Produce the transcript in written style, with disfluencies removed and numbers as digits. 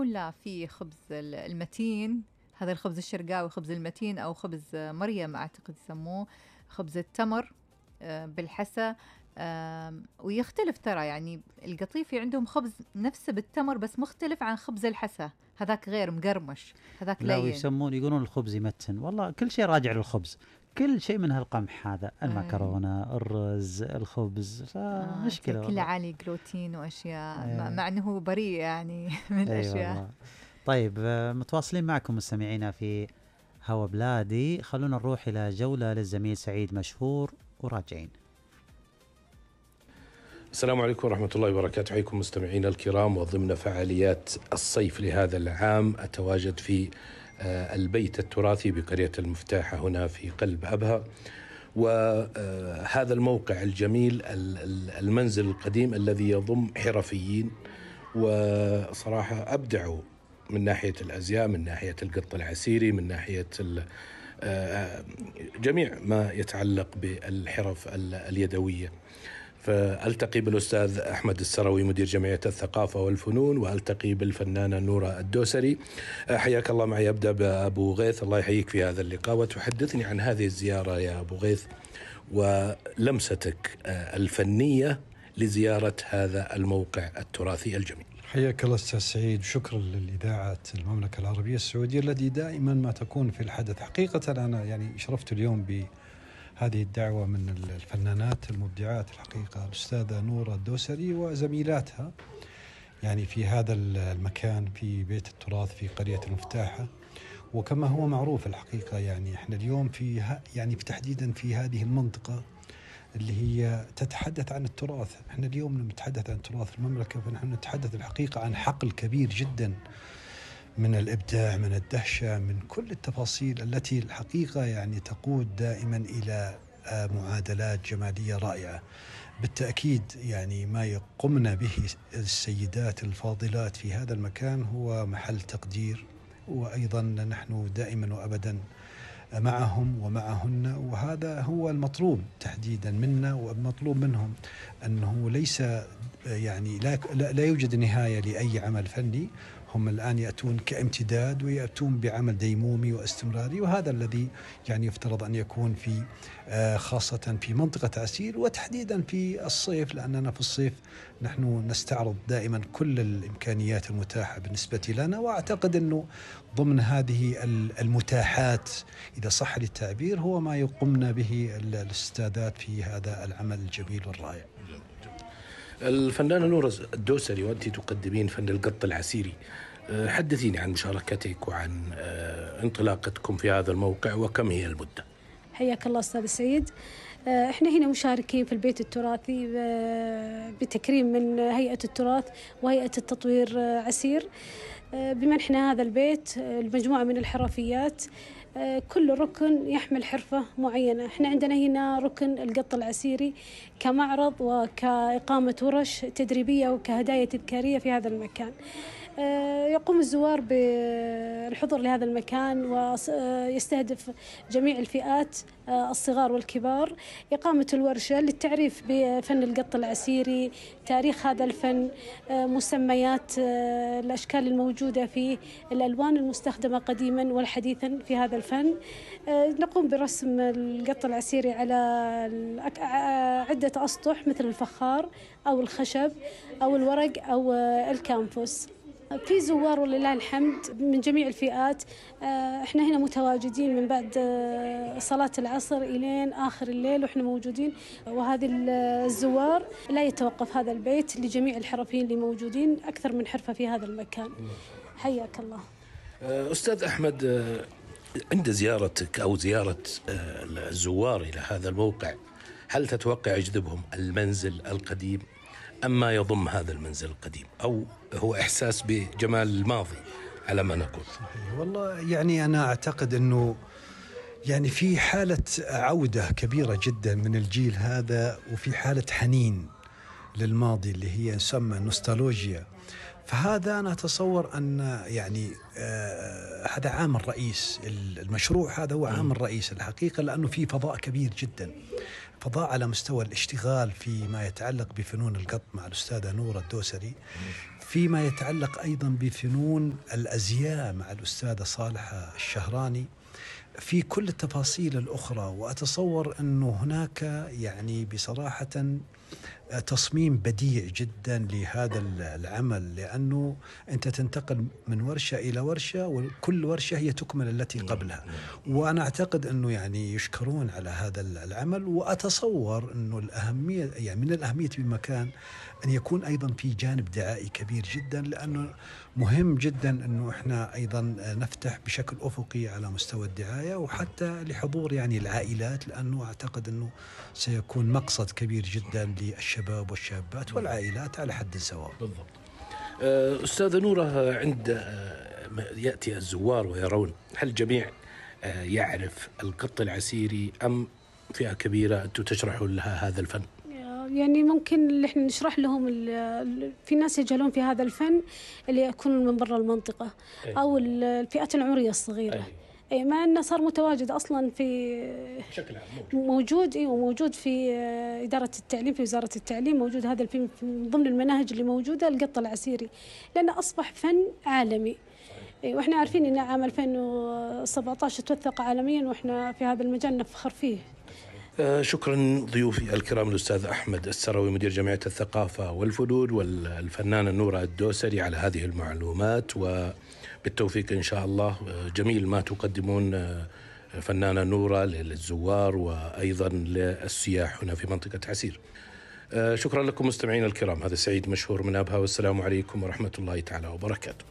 لا، في خبز المتين، هذا الخبز الشرقاوي، خبز المتين أو خبز مريم أعتقد يسموه، خبز التمر بالحسا. ويختلف ترى، يعني القطيفي عندهم خبز نفسه بالتمر بس مختلف عن خبز الحسا، هذاك غير مقرمش، هذاك لا، لين. ويسمون يقولون الخبز يمتن. والله كل شيء راجع للخبز، كل شيء من هالقمح هذا، المكرونة، الرز، الخبز، فمشكلة كل والله. عالي جلوتين وأشياء مع أنه بريء يعني من الأشياء. والله. طيب، متواصلين معكم مستمعينا في هوا بلادي. خلونا نروح إلى جولة للزميل سعيد مشهور وراجعين. السلام عليكم ورحمة الله وبركاته. حياكم مستمعينا الكرام. وضمن فعاليات الصيف لهذا العام أتواجد في البيت التراثي بقرية المفتاحة هنا في قلب أبها، وهذا الموقع الجميل، المنزل القديم الذي يضم حرفيين وصراحة أبدعوا من ناحية الأزياء، من ناحية القط العسيري، من ناحية جميع ما يتعلق بالحرف اليدوية. فألتقي بالأستاذ أحمد السروي مدير جمعية الثقافة والفنون، وألتقي بالفنانة نورة الدوسري. حياك الله معي. أبدأ بأبو غيث، الله يحييك في هذا اللقاء، وتحدثني عن هذه الزيارة يا أبو غيث ولمستك الفنية لزيارة هذا الموقع التراثي الجميل. حياك الله أستاذ سعيد، وشكرا للإذاعة المملكة العربية السعودية التي دائما ما تكون في الحدث. حقيقة أنا يعني شرفت اليوم بهذه الدعوة من الفنانات المبدعات الحقيقة الأستاذة نورة الدوسري وزميلاتها، يعني في هذا المكان في بيت التراث في قرية المفتاحة. وكما هو معروف الحقيقة، يعني احنا اليوم يعني تحديدا في هذه المنطقة اللي هي تتحدث عن التراث. احنا اليوم لما نتحدث عن تراث المملكة فنحن نتحدث الحقيقة عن حقل كبير جدا من الإبداع، من الدهشة، من كل التفاصيل التي الحقيقة يعني تقود دائما إلى معادلات جمالية رائعة. بالتأكيد يعني ما يقمن به السيدات الفاضلات في هذا المكان هو محل تقدير، وأيضا نحن دائما وأبدا معهم ومعهن، وهذا هو المطلوب تحديدا منا والمطلوب منهم، أنه ليس يعني لا يوجد نهاية لأي عمل فني. هم الآن يأتون كامتداد ويأتون بعمل ديمومي واستمراري، وهذا الذي يعني يفترض أن يكون في خاصة في منطقة عسير، وتحديدا في الصيف، لأننا في الصيف نحن نستعرض دائما كل الإمكانيات المتاحة بالنسبة لنا. وأعتقد أنه ضمن هذه المتاحات إذا صح للتعبير هو ما يقمنا به الأستاذات في هذا العمل الجميل والرائع. الفنانة نورة الدوسري، وأنت تقدمين فن القط العسيري، حدثيني عن مشاركتك وعن انطلاقتكم في هذا الموقع وكم هي المدة. حياك الله أستاذ سعيد. احنا هنا مشاركين في البيت التراثي بتكريم من هيئة التراث وهيئة التطوير عسير بمنحنا هذا البيت المجموعة من الحرفيات. كل ركن يحمل حرفة معينة. احنا عندنا هنا ركن القط العسيري كمعرض وكإقامة ورش تدريبية وكهدايا تذكارية في هذا المكان. يقوم الزوار بالحضور لهذا المكان ويستهدف جميع الفئات الصغار والكبار. إقامة الورشة للتعريف بفن القط العسيري، تاريخ هذا الفن، مسميات الأشكال الموجودة فيه، الألوان المستخدمة قديما والحديثا في هذا الفن. نقوم برسم القط العسيري على عدة أسطح مثل الفخار أو الخشب أو الورق أو الكانفوس. في زوار ولله الحمد من جميع الفئات. احنا هنا متواجدين من بعد صلاة العصر إلين آخر الليل وإحنا موجودين، وهذه الزوار لا يتوقف هذا البيت لجميع الحرفيين اللي موجودين، أكثر من حرفة في هذا المكان. حياك الله. أستاذ أحمد، عند زيارتك أو زيارة الزوار إلى هذا الموقع، هل تتوقع يجذبهم المنزل القديم أم ما يضم هذا المنزل القديم، أو هو إحساس بجمال الماضي على ما نقول؟ والله يعني أنا أعتقد أنه يعني في حالة عودة كبيرة جدا من الجيل هذا، وفي حالة حنين للماضي اللي هي يسمى نوستالوجيا. فهذا أنا أتصور أن يعني هذا عامل رئيس المشروع، هذا هو عامل رئيس الحقيقة، لأنه في فضاء كبير جدا، فضاء على مستوى الاشتغال فيما يتعلق بفنون القط مع الأستاذة نورة الدوسري. فيما يتعلق أيضا بفنون الأزياء مع الأستاذة صالحة الشهراني في كل التفاصيل الأخرى. وأتصور أنه هناك يعني بصراحة تصميم بديع جدا لهذا العمل، لأنه أنت تنتقل من ورشة إلى ورشة، وكل ورشة هي تكمل التي قبلها. وأنا أعتقد أنه يعني يشكرون على هذا العمل. وأتصور أنه الأهمية يعني من الأهمية بمكان أن يكون أيضا في جانب دعائي كبير جدا، لأنه مهم جدا أنه إحنا أيضا نفتح بشكل أفقي على مستوى الدعاية، وحتى لحضور يعني العائلات، لأنه أعتقد أنه سيكون مقصد كبير جدا للشباب والشابات والعائلات على حد سواء. بالضبط. أستاذة نورة، عند يأتي الزوار ويرون، هل الجميع يعرف القط العسيري أم فئة كبيرة أنتم تشرحوا لها هذا الفن؟ يعني ممكن اللي احنا نشرح لهم في ناس يجهلون في هذا الفن اللي يكونون من برا المنطقة أو الفئات العمرية الصغيرة. أي مع أنه صار متواجد أصلا في بشكل عام موجود وموجود في إدارة التعليم، في وزارة التعليم موجود هذا الفن من ضمن المناهج اللي موجودة، القط العسيري، لأنه أصبح فن عالمي. وإحنا عارفين أن عام 2017 توثق عالميا، وإحنا في هذا المجال نفخر فيه. شكرا ضيوفي الكرام الأستاذ أحمد السروي مدير جمعية الثقافة والفنون والفنانة نورة الدوسري على هذه المعلومات، وبالتوفيق إن شاء الله. جميل ما تقدمون فنانة نورة للزوار وأيضا للسياح هنا في منطقة عسير. شكرا لكم مستمعين الكرام، هذا سعيد مشهور من أبها، والسلام عليكم ورحمة الله تعالى وبركاته.